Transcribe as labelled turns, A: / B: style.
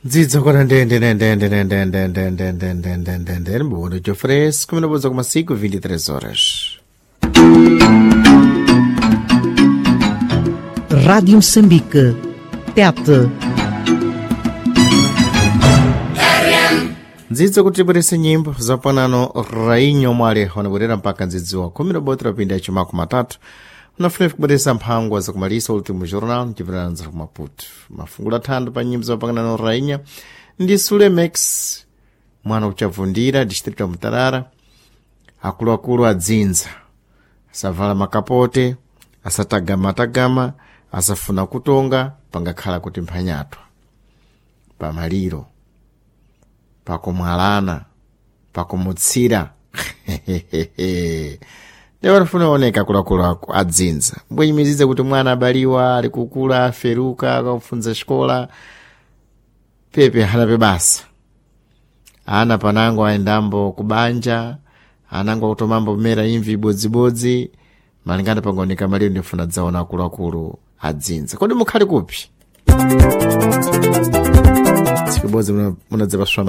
A: Ndzidzo kona ndende ndende ndende ndende ndende ndende ndende ndende boa noite oferece como não vou dizer 5 23 horas.
B: Rádio Moçambique. Tete.
A: Ndzidzo kuti tibwerese nyimbo zapanano rainyo mwale wanabwerera mpaka ndzidziwa khumi lobotera pinda yachimaku matatu unafuna kubweresa mphangwa zakumalisa ultimo jornal mchipirana ku Maputo mafungulo athando pa nyimbo zapakanano rainya ndi Sulemex mwana kuchavundira distrito ya Mutarara. Akuluakulu adzinza asavala makapote, asatagamatagama, asafuna kutonga pangakhala kuti mphanyatwa pamaliro, pakumwalana, pakumutsira. Ndiye wanafuna oneka akuluakulu ako adzinza mbwenyimizidze kuti mwana abaliwa ali kukula aferuka akakufunza xikola pepe hanape basa ana panango aendambo kubanja anango akutomambo kumera imvi ibodzibodzi malingana pangoneka maliro ndifuna dzaona akuluakulu adzinza. Kodi mukhali kupi? Tsiku ibodzi munadzapaswa.